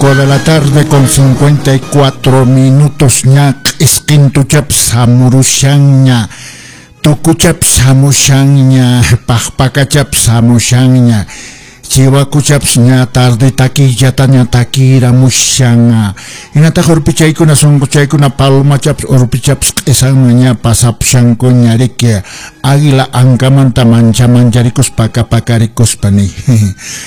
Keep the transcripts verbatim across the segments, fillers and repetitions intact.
Cinco de la tarde con cincuenta y cuatro minutos ña isqintuchapas hamurushanña, tukuchapas hamushanña, paqpakachapas hamushanña, chiwakuchapas ña tarde takillataña takiramushan. Hinataq urpichaykuna sunquchaykuna palomachapas urpichapas q'isanman ña pasapushankuña riki águila ankamanta mancha mancharikuspa pakapakarikuspa ni.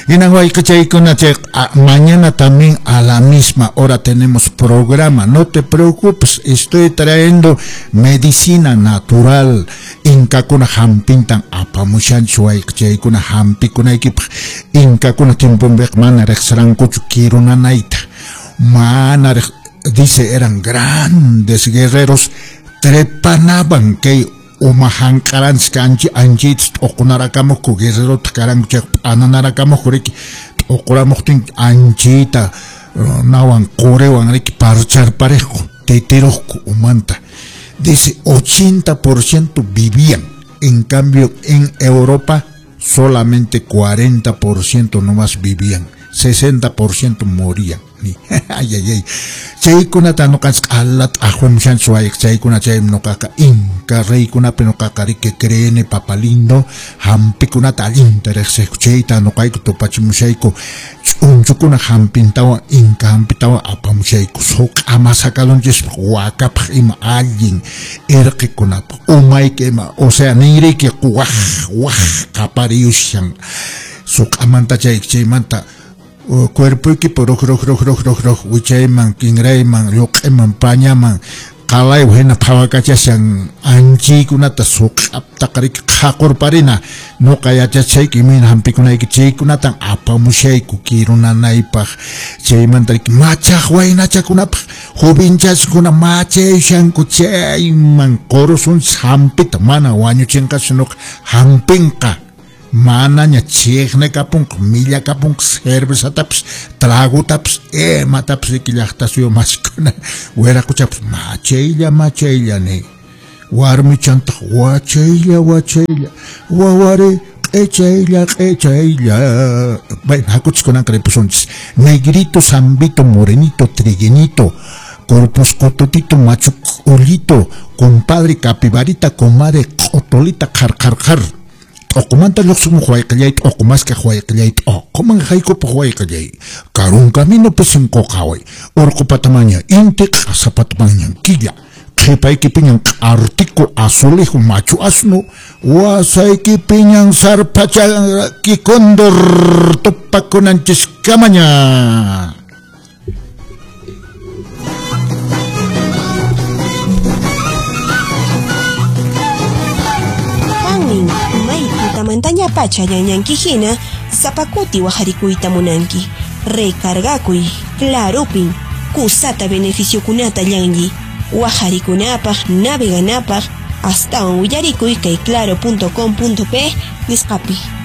Hinan wayqichaykuna chay mañana también a la misma hora tenemos programa. No te preocupes, estoy trayendo medicina natural. Inkakuna hampintan apamushanchis wayqichaykuna hampikunaykipaq. Inkakuna tiemponpiqa mana riqsirankuchu kirunanayta, mana dice eran grandes guerreros, trepanaban kay uma hanq'aranchis anchi anchaytas t'uqunarakamuqku, guerrerotaq karanku chayqa p'ananarakamuqku riki, t'uquramuqtin anchayta nawan quriwan riki parcharpariqku, titiruqku umanta. Dice ochenta por ciento vivían, en cambio en Europa solamente cuarenta por ciento nomás vivían, sesenta por ciento morían. Ay, ay, ay. Chaykunata nuqanchis q'alata ahumushanchis wayqa, chaykuna chaymi nuqaqa inka reykunapi nuqaqa riki creeni papalindo hampikunata allinta riqsiyku, chayta nuqayku tupachimushayku ch'unchukuna hampintawan inka hampitawan apamushayku suq'ama sakalunchispaq wakapaq ima allin irqikunapaq umayki ima, o sea ninriyki waj waj qapariyushan suq'amanta chayki chaymanta cuerpoykipi roj roj roj roj roj roj wichayman kinrayman lluq'iman pañaman qalaywan hina phawakachashan anchiykunata suq'aptaqa riki qhaqurparina nuqa yachachayki imayna hampikunayki chaykunatan apamushayku kirunanaypaq chaymanta riki machaq waynachakunapaq jovenchaskuna machayushanku chayman qurusunchis hampita mana wañuchinqachu nuqa hampinqa manaña chiqnikapunqa millakapunqa cervezatapas tragutapas imatapas riki llaqta suyu masikuna wiraquchapas machaylla machaylla ni warmichantaq wachaylla wachaylla wawari q'echaylla q'echaylla. Bueno, hakuchis kunanqa ripusunchis. Negrito, zambito, morenito, triguenito, corpus cototito, machu ullito, compadre capibarita, comadre q'otolita, qhar qhar qhar. T'uqumanta lluqsimuq wayqillay, t'uqumaskaq wayqillay, t'uquman haykupaq wayqillay. Karun camino pisinquqaway, urqu patamaña inti, q'asapatamaña killa, qhipaykipiñan q'artiku azulejo machu asnu, wasaykipiñan sarpachaki cóndor tupakunanchiskamaña. Montaña pacha ñañanki hina sapakuti wajarikuyta munanki recargakuy clarupin kusata beneficiokunata llanlli wajarikunapaq naveganapaq astawan willarikuy kay claro punto com punto pe nisqapi.